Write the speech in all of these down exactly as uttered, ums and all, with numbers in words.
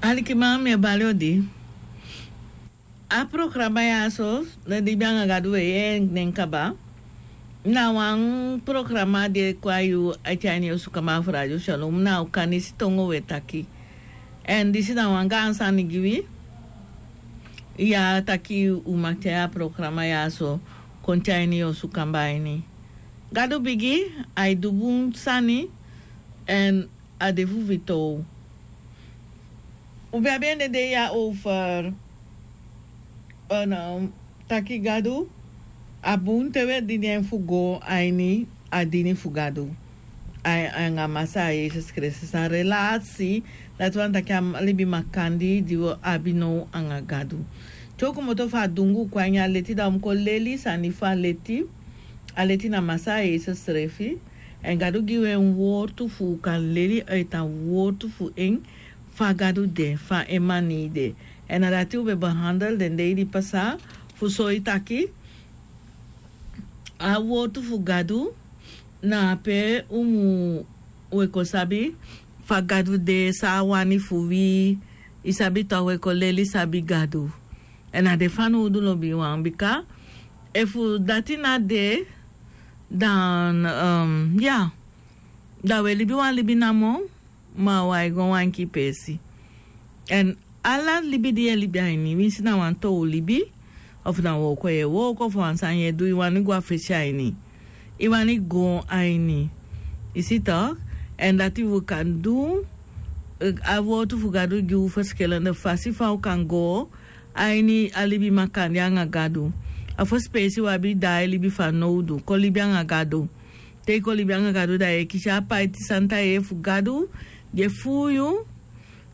Alikiman, mi e bali odi. A programa ya so, na Libi anga Gadu, we yee en nen kaba. Na wan programa di e kon a yu a ini yu osu kaba fu Radio Shalom, na Okanisi tongo we taki. Èn disi na wan gaan sani gi wi. Ya taki u maki tyai a programa ya so kon tyai a ini yu osu kaba ini. Gadu bigi, ai du bun sani, èn a de fu wi tu. U be abi en den dei ya over, eh, taki Gadu, a bun te we dini en fu go a ini a dini fu Gadu. A, anga Masaa Yesus Kristus a relasi, dati wani taki a libi makandii di wi abi now anga Gadu. Te u komoto fu a dungu kon a ini a leti, da u mu kon leli sani fu a leti. A leti na Masaa Yesus srefi. Èn Gadu gi wi en wortu fu u kan leli a wortu fu en, fa Gadu de, fa en maniri de. Èn na dati u be behandel den dei di pasa, fu soi taki a wortu fu Gadu, na pe u mu, we kon sabi fa Gadu de, san a wani fu wi, i sabi, da we kon leli sabi Gadu. Èn a de fanowdu lobiwan, bika efu dati no de, dan, um, ya, da we libi wan libi namo, ma wi e go wan kibesi. Èn ala libi di yu e libi a ini, winsi na wan tow libi, ofu na wooko yu e wooko, ofu wan sani yu e du, i wani go a fesi a ini. I wani go a ini. I si tok? Èn dati wi kan du, eh, a wortu fu Gadu gi u verschillende fasi fa u kan go a ini a libi makandii anga Gadu. A fosi peesi wi abi daai libi fanowdu, kon libi anga Gadu. Te i kon libi anga Gadu, da yu e kisi a paiti santa yeye fu Gadu, di e fuu yu,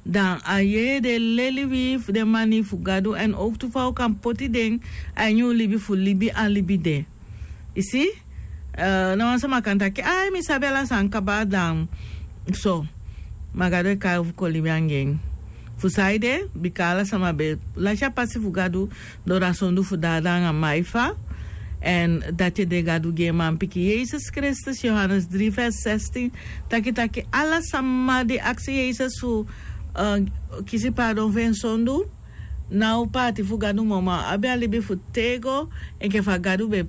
dan a yeye de e leli wi fu den maniri fu Gadu, èn owktu fa u kan poti den a ini u libi fu libi a libi de. I si? Eh, na wan sama kan taki, ai, mi sabi ala sani kaba, dan so. Ma Gadu e kai u fu kon libi anga en. Fu saide, bika ala sama be lasi a pasi fu Gadu, doro a sondu fu Dada anga Maifa. Èn dati ede Gadu gi en manpikin Yesus Kristus, Johannes drie vers zestien. Taki taki ala sama di aksi Yesus fu, eh, kisi pardon fu en sondu, no o paati fu Gadu moo, ma a abi a libi fu tego, enke fa Gadu be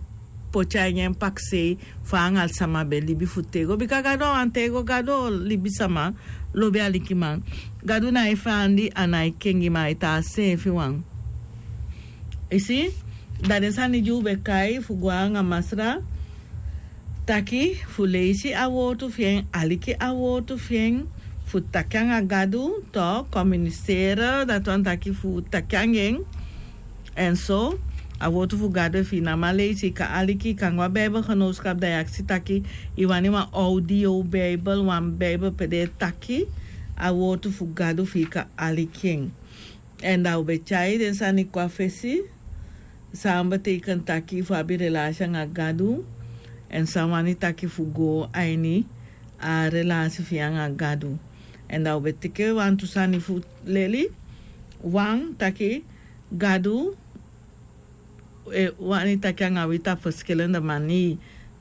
poti a ini en pakisei, fa anga sama be libi fu tego. Bika Gadu a wan tego Gadu, libisama, lobi alikiman. Gadu no e feandi, a no e kengi, ma a e tan a seefi wan. I si? Da den sani di u be kai fu go anga Masra, taki fu leisi a wortu fi en, aliki a wortu fi en, fu taki anga Gadu, tok, komuniseri, dati wani taki fu taki anga en. Èn so, a wortu fu Gadu, efu i no man leisi, i kan aliki, i kan go a Bijbelgenootschap, da i aksi taki i wani wan audio Bijbel, wan Bijbel pe den e taki a wortu fu Gadu, fu i kan aliki en. Èn da u be tyai den sani kon a fesi, san betekent taki fu abi relasi anga Gadu, èn san wani taki fu go a ini a relasi fi en anga Gadu. Èn da u be teke wantu sani fu leli, wan taki Gadu, eh, wani taki anga wi tapu verschillende manier.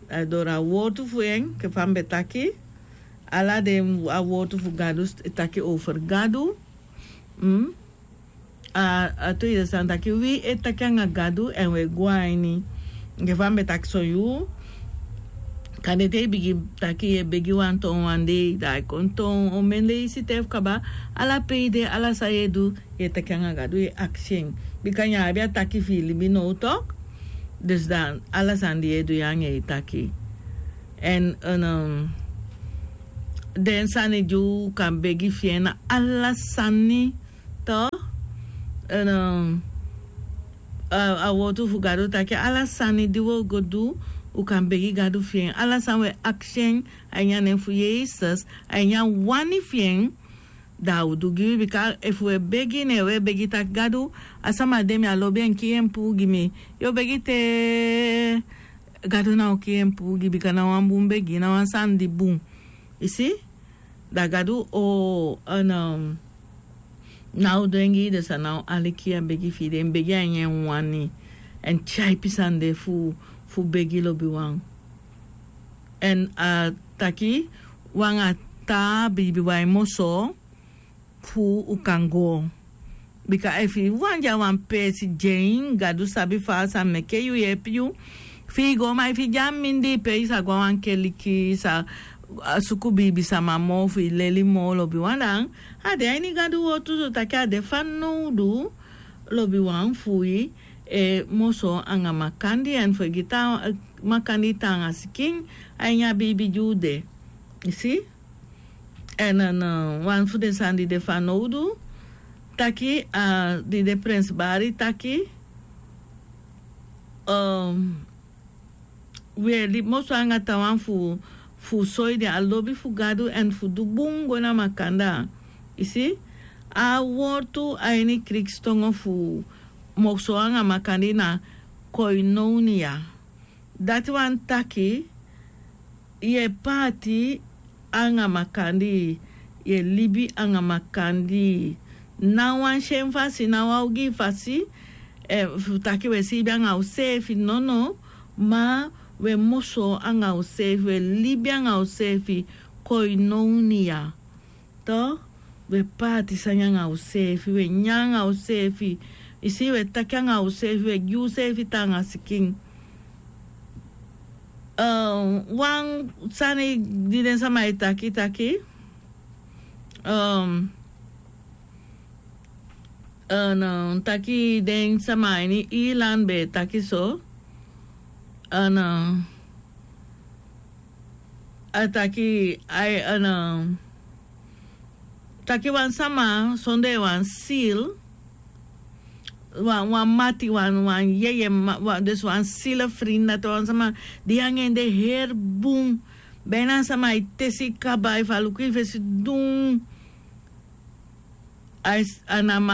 Eh, doro a wortu fu en, enke fa mi be taki, ala den a wortu fu Gadu e taki over Gadu. Mm. A, a tweede sani taki wi e taki anga Gadu èn wi e go a ini. Enke fa mi be taki son yuu, kande te i bigin taki yu e begi wan toon wan dei, da a e kon toon, omen leisi te fu kaba, ala pe i de, ala san yu e du, yu e taki anga Gadu, yu e aksi en. Bika yu abi a taki fi i libi now tok. Dus dan, ala sani di yu e du, yu anga en e taki. Èn, en, um, den sani di u kan begi fi en na ala sani, tok. Èn, um, a, a wortu fu Gadu taki ala sani di wi o go du, u kan begi Gadu fi en. Ala san wi e aksi en, a ini a nen fu Yesus, a ini a wani fi en, da a o du gi wi. Bika efu wi e begi, ne wi e begi taki Gadu, a sama de, mi á lobi en, kii en puu gi mi. Yu o begi te Gadu ná o kii en puu gi, bika na wan bun begi, na wan sani di bun. I si? Da Gadu o, en, um, ná o du en gi den san ná o aliki a begi fi den, begi a ini en wani. Èn tyaipi sani de fu, fu begi lobiwan. Èn a taki wan a taa biibi wan e moso, fu u kan go. Bika efu i wani de a wan peesi de en, Gadu sabi fa a sa meke yu yeepi yu fi i go. Ma efu i de a mindii pe i sa go a wan keliki, i sa suku biibisama moo fu i leli moo lobiwan, dan a de a ini Gadu wowtu so taki a de fanowdu lobiwan fu i e moso anga makandii, èn fu e gi taa makandii taanga sikin a ini a biibi di u de. I si? Èn wan fu den sani di de fanowdu taki, di de prensi Bari taki, wi e libi moso anga taawan fu soi den a lobi fu Gadu èn fu du bun go na makandaa. I si? A wortu a ini krikstongo fu moso anga makandii na koinonia. Dati wani taki yu e paati anga makandii, yu e libi anga makandii. Na wan syen fasi, na wan ogii fasi, fu taki wi e siibi anga useefi, nono. Ma wi e moso anga useefi, wi e libi anga useefi, koinonia. Tok, wi e paati sani anga useefi, wi e nyan anga useefi. I si, wi e taki anga useefi, wi e gi useefi taanga sikin. Wan sani di den sama e taki taki, taki den sama a ini Ilan be e taki so. A taki ai, taki wan sama sondee wan sil, wan mati, wan yeye, dus wan sila frinda, te wan sama di yu anga en de heri bun. Bina a sama e tesi kaba efu a luku yu fesi dun. Anam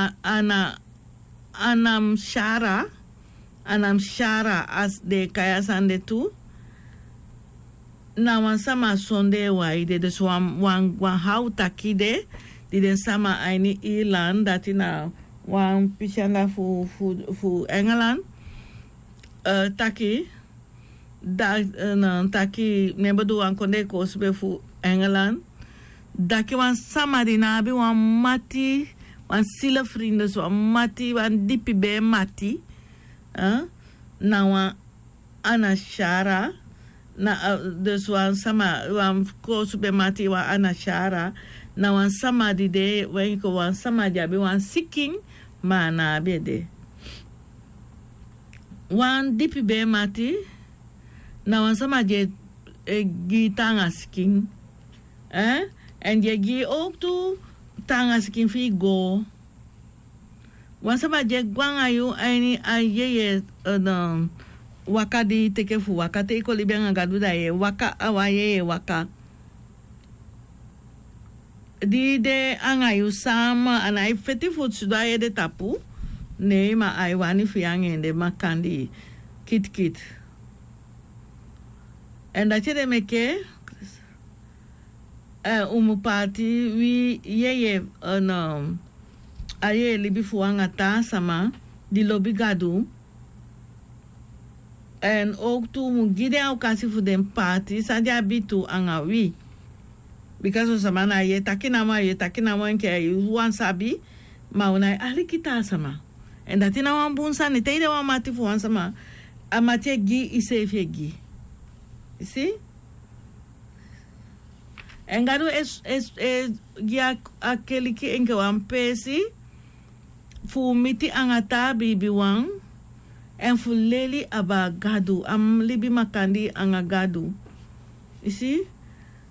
shara, anam shara, a si den e kai a sani de tu. Na wan sama sondee wan ede, dus wan haw taki de, di den sama a ini Ilan, dati na wan pisi anda fu Engelan, taki, taki ne en bo du wan kondee koosube fu Engelan. Taki wan sama di ná abi wan mati, wan sila frindes, wan mati, wan dipi bee mati, na wan anashara. Dus wan sama, wan koosube mati, wan anashara, na wan sama di de, wan sama di abi wan sikin, ma a ná abi ede. Wan dipi bee mati na wan sama di e gi taanga sikin, èn di e gi owktu taanga sikin fi i go. Wan sama di e go anga yu a ini a yeye waka di i teke fu waka, te i kon libi anga Gadu, da yu e waka a wan yeye waka. Di de anga yu sama, a nái feti fu sidon a yu ede tapu. Nei, ma ai wani fu yu anga en de makandii kitkit. Èn dati ede meke un mu paati wi yeye, a yeye libi fu anga taa sama di lobi Gadu. Èn owktu un mu gi den a okasi fu den paati san den abi tu anga wi. Bika son sama na yu e taki namo, yu e taki namo enke yu wan sabi, ma un nái aliki taa sama. Èn dati na wan bun sani, te i de wan mati fu wan sama, a mati e gi, iseefi e gi. I si? Èn Gadu e gi a keliki enke wan peesi fu miti anga taa biibiwan, èn fu leli abaa Gadu, a mu libi makandii anga Gadu. I si?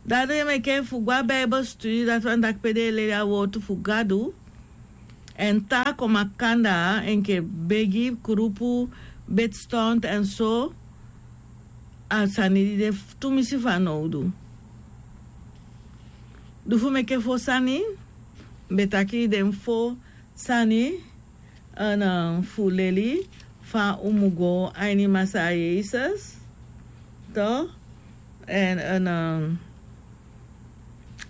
Dati ede meke fu go a Bijbel studi, dati wani taki pe den e leli a wowtu fu Gadu, èn tan kon makandaa enke begi, kulupu, bedstonti èn so, a sani di de tumisi fanowdu. Di fu meke fo sani, mi be taki den fo sani, fu leli fa un mu go a ini Masaa Yesus, to, èn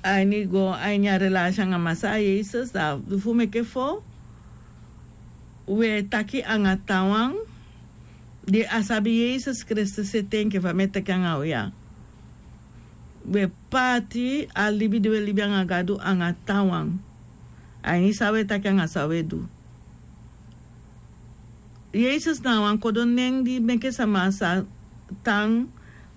a ini go a ini a relasi anga Masaa Yesus, da di fu meke fo, wi e taki anga taawan di á sabi Yesus Kristus ete enke fa mi e taki anga wi ya. Wi e paati a libi di wi e libi anga Gadu anga taawan. A ini san un e taki anga san un e du. Yesus na wan kodo nen di meke sama sa tan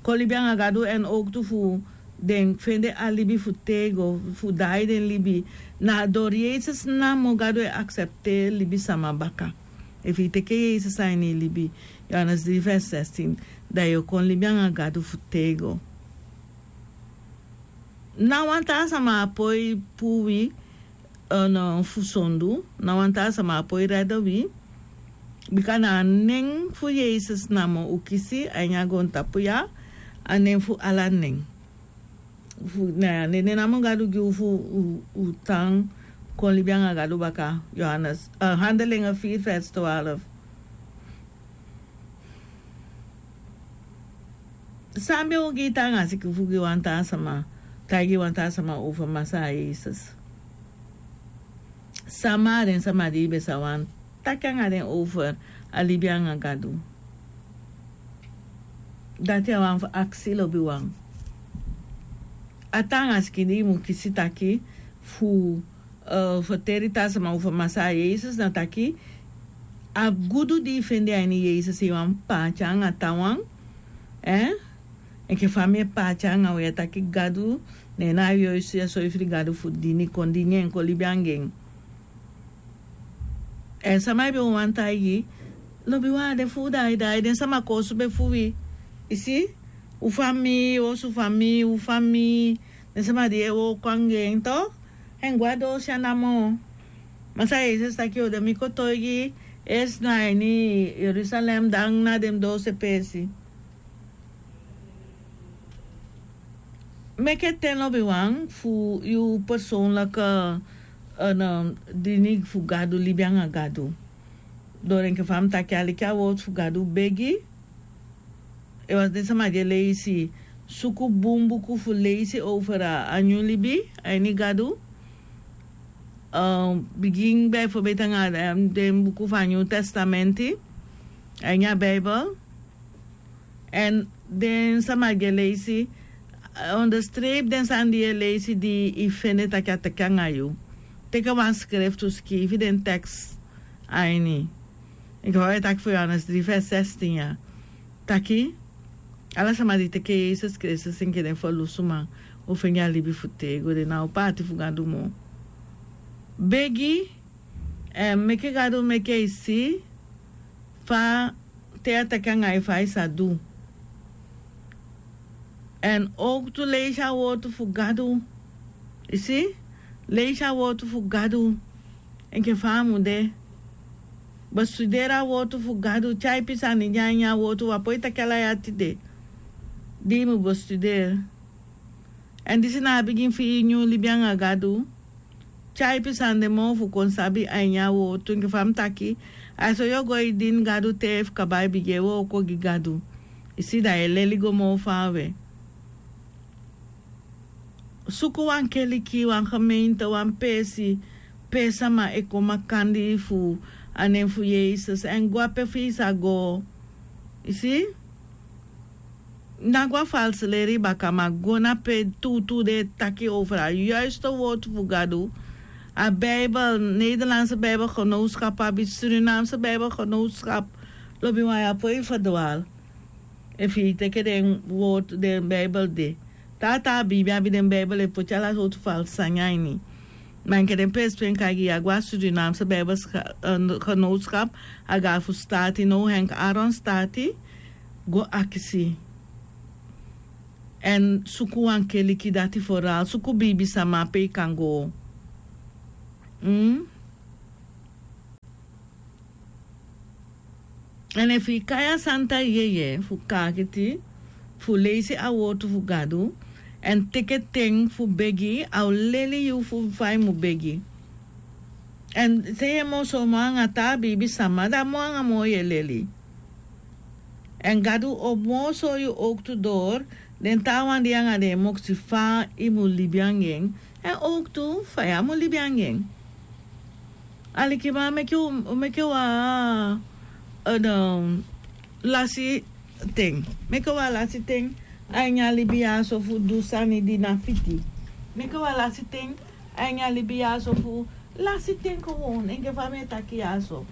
kon libi anga Gadu, èn owktu fu den fende a libi fu tego, fu dai den libi. Na dori Yesus namo Gadu e aksepteri libisama baka. Efu yu teke Yesus a ini yu libi, Johannes dri vers sestin, dan yu o kon libi anga Gadu fu tego. Na wan taa sama a poi puru wi, eh, no, fu sondu, na wan taa sama a poi rede wi. Bika na a nen fu Yesus namo un kisi a ini a goontapu ya, a nen fu ala nen. Fu, na a nen namo Gadu gi un fu un, un tan kon libi anga Gadu baka, Johannes, eh, Handelingen vier vers twaalf. San ben o gi yu taanga sikin fu gi wan taa sama, taigi wan taa sama over Masaa Yesus? Sama na den sama di yu ben sa wani taki anga den over a libi anga Gadu? Dati a wani fu aksi lobiwan. A taanga sikin di yu mu kisi taki fu, eh, ferteri taa sama over Masaa Yesus na taki, a gudu di yu fende a ini Yesus, yu wani paati anga taawan, eh? Enke fa mi e paati anga un ya taki Gadu, ne na a yoisti a soi fu di Gadu fu dini, kon dini en, kon libi anga en. Èn sama yu ben wani taigi, lobiwan, a de fu un dai dai, den sama koosube fu wi. Yu si? Un famii, osu famii, un famii, den sama di e wooko anga en, toch? Èn go a doose ya namo. Masaa Yesus taki yu o de mi kotoigi, eerst na ini Jerusalem, dan na den doose peesi. Meke ten lobiwan fu yu persoonlijke, eh, no, dini fu Gadu, libi anga Gadu. Dori enke fa mi taki, aliki a wowtu fu Gadu, begi. Efu den sama di e leisi, suku bun buku fu leisi over a nyun libi a ini Gadu. Eh, bigin bijvoorbeeld anga, eh, den buku fu a Nyun Testamenti a ini a Bijbel. Èn den sama di e leisi, eh, onderstreep den sani di yu e leisi, di yu fende taki a taki anga yu. Teke wan skrifi, skrifi den tekst a ini. Enke fa wi e taki fu Johannes dri vers sestin ya. Taki, ala sama di teke Yesus Kristus enke den ferlusuman, o fende a libi fu tego, den ná o paati fu Gadu moo. Begi, èn meke Gadu meke yu si fa te a taki anga yu, fa yu sa du. Èn owktu leisi a wowtu fu Gadu. Yu si? Leisi a wowtu fu Gadu enke fa a mu de. Bestuderi a wowtu fu Gadu, tyaipi sani di a ini a wowtu, wi á poi taki ala ya tide. Di yu mu bestuderi. Èn disi na a bigin fi yu nyun libi anga Gadu. Tyaipi sani de moo fu kon sabi a ini a wowtu, enke fa mi taki. A so yu o go e dini Gadu te fu kaba, e bigin e wooko gi Gadu. Yu si, da yu e leli go moo faawe. Suku wan keliki, wan gemeente, wan peesi pe sama e kon makandii fu a nen fu Yesus, èn go a pe fu yu sa go. Yu si? Ná go a falsi leri baka, ma go na pe tuutuu den e taki over a juiste wowtu fu Gadu. A Bijbel, Nederlandse Bijbelgenootschap abi, Surinaamse Bijbelgenootschap. Lobiwan, yu á poi ferdwaal. Efu yu teke den wowtu, den Bijbel de. Taa taa biibi abi den Bijbel e poti ala sowtu falsi sani a ini. Ma enke den peesi pe mi kan gi yu, a go a Surinaamse Bijbel, eh, Genootschap, a go a fu Staati, now Henk Aaron Staati, go akisi. Èn suku wan keliki, dati vooral, suku biibisama pe yu kan go. Mm? Èn efu yu kai a santa yeye fu kaakiti, fu leisi a wowtu fu Gadu, èn teke ten fu begi, a o leli yu fu fa yu mu begi. Èn te yu e moo soi moo anga taa biibisama, da moo anga moo yu e leli. Èn Gadu o moo soi yu owktu dori den taawan di yu anga den e moksi, fa yu mu libi anga en, èn owktu fa yu á mu libi anga en. Alikiman, meke u, meke wan, eh, no, lasi ten. Meke wan lasi ten a ini a libi ya so fu du sani di na fiti. Meke wan lasi ten a ini a libi ya so fu Lasi ten kon wan enke fa mi e taki ya so.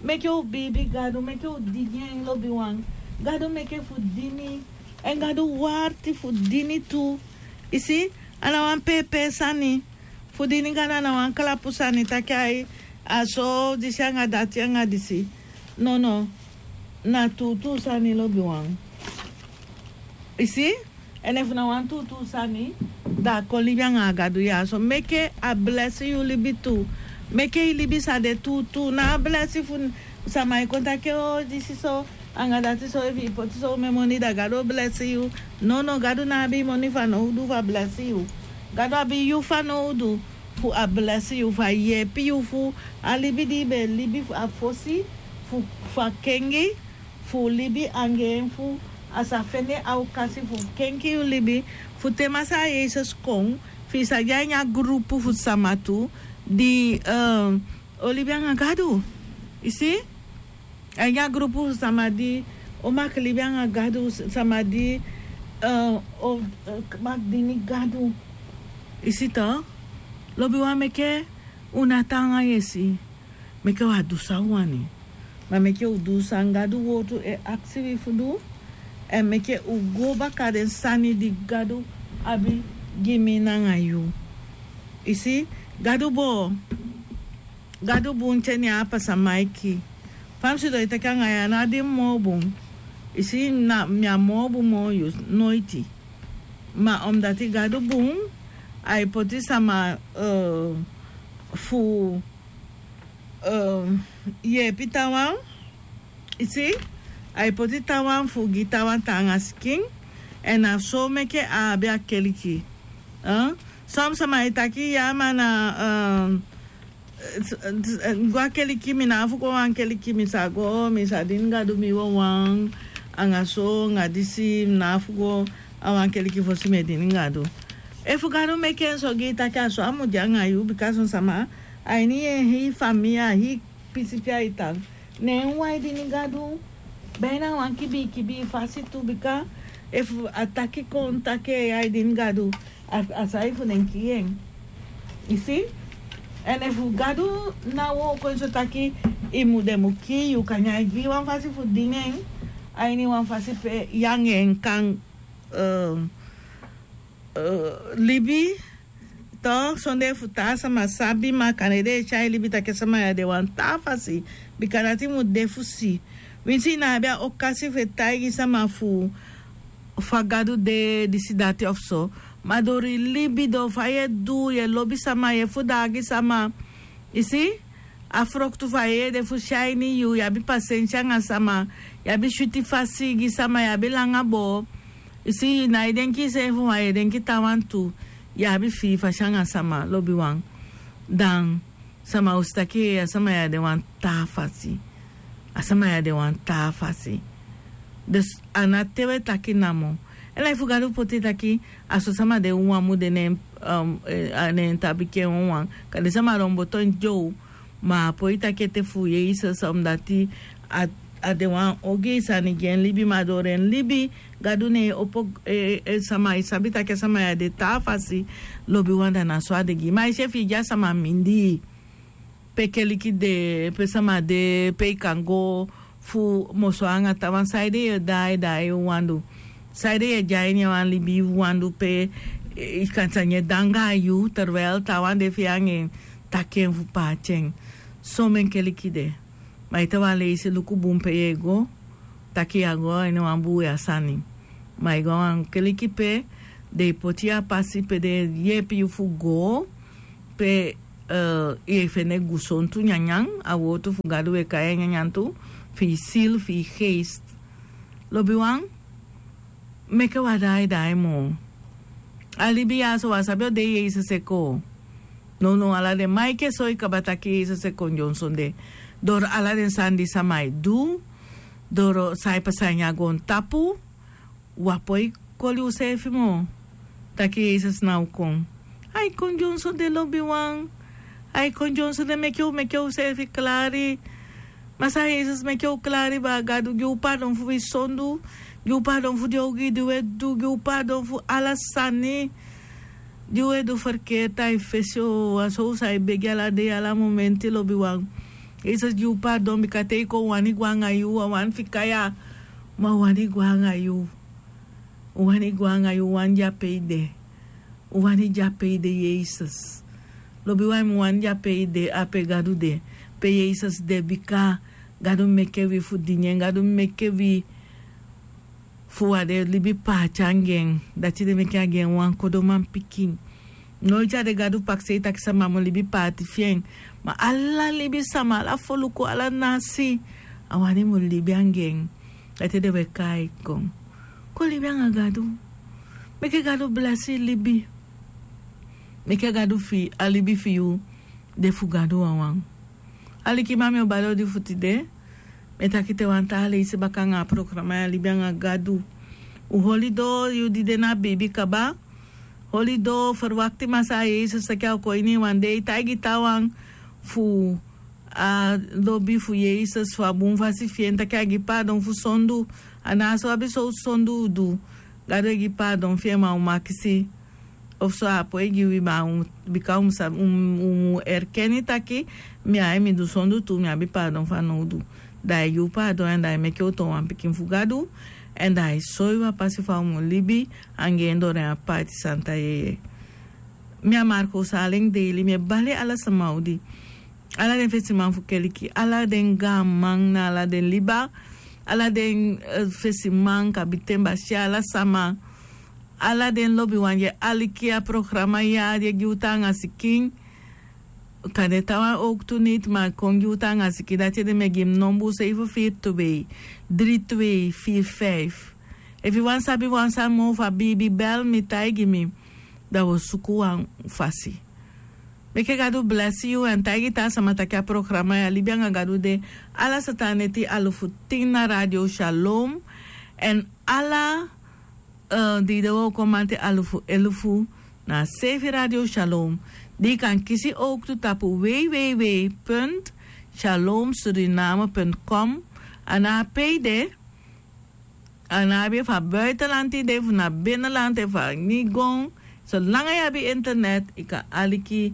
Meke u biibi Gadu, meke u dini en, lobiwan. Gadu meke fu dini, èn Gadu warti fu dini tu. I si, a na wan pepe sani. Fu dini Gadu a na wan kalapu sani taki ai, a so disi anga dati anga disi. Nono, na tuutuu sani, lobiwan. I si? Èn efu na wan tuutuu sani, da a kon libi anga a Gadu ya so. Meke a blesi yu libi tu. Meke i libi sa de tuutuu. Na a blesi fu sama e kon taki o disi so anga dati so, efu i poti so ume moni da Gadu o blesi yu. Nono, Gadu ná abi i moni fanowdu fu a blesi yu. Gadu abi yu fanowdu fu a blesi yu, fu a yeepi yu fu a libi di i be libi fu a fosi, fu, fu a kengi, fu libi anga en, fu a sa fende a okasi fu kenki yu libi, fu te Masaa Yesus kon, fi i sa de a ini a grupu fu sama tu di, eh, o libi anga Gadu. I si? A ini a grupu fu sama di o maki libi anga Gadu, sama di, eh, o, eh, maki dini Gadu. I si tok? Lobiwan, meke u ná tan anga yesi. Meke u á du san u wani. Ma meke u du san Gadu wortu e aksi wi fu du. Èn meke u go baka den sani di Gadu abi gi mi nanga yu. I si, Gadu bun, Gadu bun te ne a pasa maiki. Fa mi sidon e taki anga yu, a ná di mi moo bun. I si, na mi á moo bun moo yu, noiti. Ma omdati Gadu bun, ai poti sama, eh, fu, eh, yeepi taawan. I si, ai poti taawan fu gi taawan taanga sikin. Èn na so meke a abi a keliki. Eh? Son sama e taki ya, ma na, eh, eh, s-, eh, s-, eh, go a keliki, mi ná abi fu go a wan keliki, mi sa go, mi sa dini Gadu mi wawan, anga so, anga disi, mi ná abi fu go a wan keliki fosi mi e dini Gadu. Efu Gadu meke en so gi i taki a so a mu de anga yu, bika son sama, a ini en hii famii, a hii pisi pe ai tan, ne en wawan e dini Gadu, bina wan kibii kibii fasi tu, bika efu a taki kon taki ai dini Gadu, a, a sai fu den kii en. I si? Èn efu Gadu ná wooko en so taki i mu, den mu kii yu, kande ai gi wan fasi fu dini en, a ini wan fasi pe yu anga en kan, eh, eh, libi, tok, sondee fu taa sama sabi, ma kande den e tyai libi taki a sama ya de wan taa fasi, bika dati mu de fu si. Winsi i ná abi a okasi fu e taigi sama fu fa Gadu de, disi dati of so. Ma dori libi, dori fa yu e du, yu e lobi sama, yu e fu daagi sama. I si? A froktu fu a yeye de fu si a ini yu, yu abi pasensi anga sama, yu abi switi fasi gi sama, yu abi langa boo. I si, yu ná e denki yuseefi, ma yu e denki taawan tu. Yu abi fii fasi anga sama, lobiwan. Dan sama o si taki a sama ya de wan taa fasi. A sama ya de wan taa fasi. Dus a ná te u e taki namo. Èn lai fu Gadu poti taki a so sama de wawan mu de ne en, um, eh, a ne en tabi ke wawan. Kande sama don boto en dyow. Ma a poi taki ete fu Yesus, omdati a, a de wan ogii sani gi en libi, ma dori en libi Gadu ne e opo, eh, eh, sama e sabi taki a sama ya de taa fasi, lobiwan, da na so a de gi. Ma i si, efu i de a sama mindii, pe keliki de, pe sama de, pe i kan go fu moso anga taawan, saide yu e daai daai yu wawan du? Saide yu e de a ini wan libi yu wawan du pe, eh, i kan sani e de anga yu, terwijl taawan de fi yu anga en taki en fu paati en? Somen keliki de. Ma ete wan leisi, luku bun pe yu e go, taki yu á go a ini wan buuya sani. Ma i go a wan keliki pe den e poti yu a pasi, pe den e yeepi yu fu go, pe, eh, yu e fende gusontu nyanyan, a wowtu fu Gadu e kai en nyanyan tu, fi i ziel, fi i geest. Lobiwan, meke u á daai daai moo. A libi ya so, u á sabi o dei Yesus e kon. Nownow ala den maiki e soi kaba taki Yesus e kon dyonsonde. Doro ala den sani di sama e du, doro san e pasa a ini a goontapu, u á poi koli useefi moo taki Yesus ná o kon. Ai kon dyonsonde, lobiwan. Ai kon dyonsonde, meke u, meke useefi klari. Masaa Yesus, meke u klari baa Gadu, gi u pardon fu wi sondu, gi u pardon fu den ogii di u e du, gi u pardon fu ala sani. Di un e du ferkeri tan a e fesi o a so un sa e begi ala dei ala momenti lobiwan. Yesus gi un pardon bika te i kon un wani gwe anga yu a wani fika ya. Ma un wani gwe anga yu. Un wani gwe anga yu un wani de a pe i de. Un wani de a pe i de yesus. Lobiwan mi wani de a pe i de a pe gadu de. Pe yesus de bika gadu meke wi fu dini en gadu meke wi fu wan den libi paati anga en. Dati den meke a gi en wan kodoman pikin. Noiti a de gadu pakisei taki sama mu libi paati fi en. Ma ala libi sama ala foluku ala nasi a wani mu libi anga en. Dati den we kai kon. Kon libi anga gadu. Meke gadu blesi libi. Meke gadu fi a libi fi yu de fu gadu wawan. Alikiman mi o bari odi fu tide. Mi e taki te wan taa leisi baka anga a programa ya libi anga gadu. Un holi doo yu di de na a beibi kaba. Holi doo ferwakti masaa yesus taki a o kon ini yu wan dei taigi taawan fu a lobi fu yesus fu a bun fasi fi en taki a gi paadon fu sondu. A na a so abi sowtu sondu un du. Gadu e gi paadon fi en ma un makisi. Ofu so a poi gi wi ma bika un mu erkeni taki mi ai mi du sondu tu mi abi paadon fanowdu. Da ai gi un paadon èn da ai meke un toon wan pikin fu gadu. Èn da ai soi wi a pasi fa un mu libi anga en doro en a paati santa yeye. Mi a marko un sa alen deili mi e bali ala sama odi. Ala den fesiman fu keliki ala den gaaman na ala den liba. Ala den fesiman kabiten basi ala sama. Ala den lobiwan di e aliki a programa ya di e gi un tan anga sikin. Kande tawan owktu niti ma kon gi un tan anga sikin dati ede mi e gi mi nombu seifi firi tu bei dri tu bei firi faifi. Efu yu wani sabi wan sani moo fu a biibi bel mi taigi mi. Da wi o suku wan fasi. Meke gadu blesi yu èn taigi taa sama taki a programa ya libi anga gadu de. Ala satan neti alufu tin na radio shalom. Èn ala di yu de wooko manti alufu elufu na a seefi radio shalom. Di yu kan kisi owktu tapu wei wei wei punt shalom suriname punt kom. A na a pe yu de. A no abi efu a buitenland yu de efu na binnenland efu a nigon. Solanga yu abi internet yu kan aliki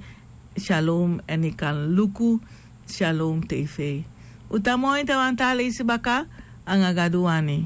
shalom èn yu kan luku shalom tv. Un tan moi te wan taa leisi baka. Anga gadu wani.